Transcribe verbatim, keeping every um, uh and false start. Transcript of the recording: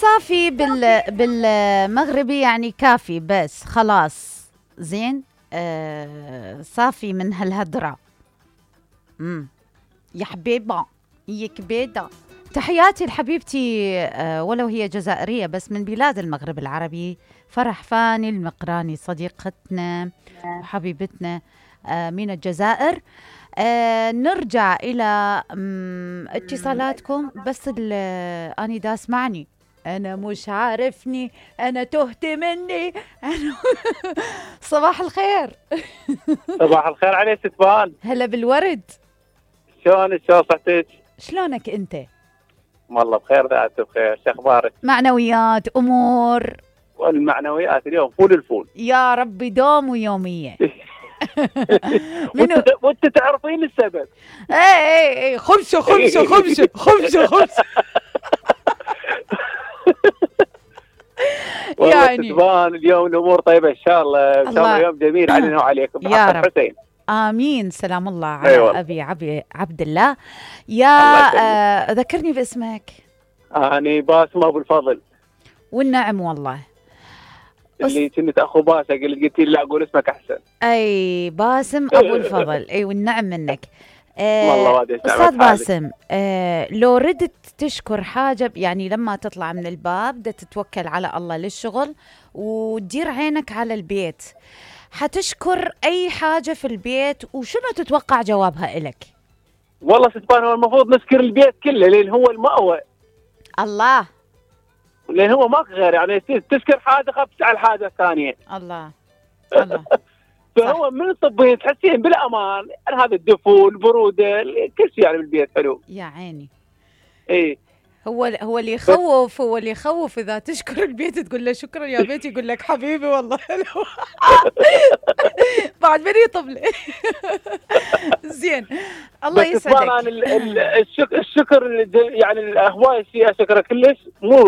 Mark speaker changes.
Speaker 1: صافي بال بالمغربي يعني كافي بس خلاص زين. آه صافي من هالهدرة. امم يا حبيبة يا كبيدة، تحياتي لحبيبتي آه ولو هي جزائرية بس من بلاد المغرب العربي، فرح فاني المقراني صديقتنا وحبيبتنا آه من الجزائر. آه نرجع إلى اتصالاتكم. بس أني دا اسمعني، أنا مش عارفني، أنا تهت مني أنا صباح الخير.
Speaker 2: صباح الخير عليك ستفان.
Speaker 1: هلا بالورد.
Speaker 2: شلونك؟ شلون صحتك؟
Speaker 1: شلونك أنت؟
Speaker 2: والله بخير ذات بخير. شو أخبارك؟
Speaker 1: معنويات أمور.
Speaker 2: والمعنويات اليوم فول الفول
Speaker 1: يا ربي دوم ويومية.
Speaker 2: منو وانت تعرفين السبب.
Speaker 1: اي اي اي خبشه خبشه خبشه خبشه خبشه.
Speaker 2: يعني ستفان اليوم الامور طيبه ان شاء الله. ان شاء الله يوم جميل علينا وعليكم
Speaker 1: يا رب.
Speaker 2: حسين.
Speaker 1: امين. سلام الله على
Speaker 2: أيوة.
Speaker 1: ابي عبي عبد الله. يا آه ذكرني باسمك.
Speaker 2: اني باسم ابو الفضل.
Speaker 1: والنعم والله.
Speaker 2: اللي كنت اخو باسم قلت لي لا اقول اسمك احسن.
Speaker 1: اي باسم ابو الفضل. اي والنعم منك.
Speaker 2: آه
Speaker 1: استاذ باسم، آه لو ردت تشكر حاجه، يعني لما تطلع من الباب بدك تتوكل على الله للشغل وتدير عينك على البيت، حتشكر اي حاجه في البيت وشنو تتوقع جوابها إلك؟
Speaker 2: والله ستبان هو المفروض نشكر البيت كله لان هو المأوى.
Speaker 1: الله.
Speaker 2: لان هو ماكو غير، يعني تشكر حاجه خف على الحاجه الثانيه.
Speaker 1: الله الله.
Speaker 2: فهو من الطبين تحسين بالامان، يعني هذا الدفو البروده كل شيء يعني بالبيت حلو.
Speaker 1: يا عيني.
Speaker 2: ايه
Speaker 1: هو هو اللي يخوف، هو اللي يخوف اذا تشكر البيت تقول له شكرا يا بيت يقول لك حبيبي والله حلو. بعد من يطبل. زين الله يسعدك.
Speaker 2: الشكر الشكر يعني هواي شيء اشكره كلش مو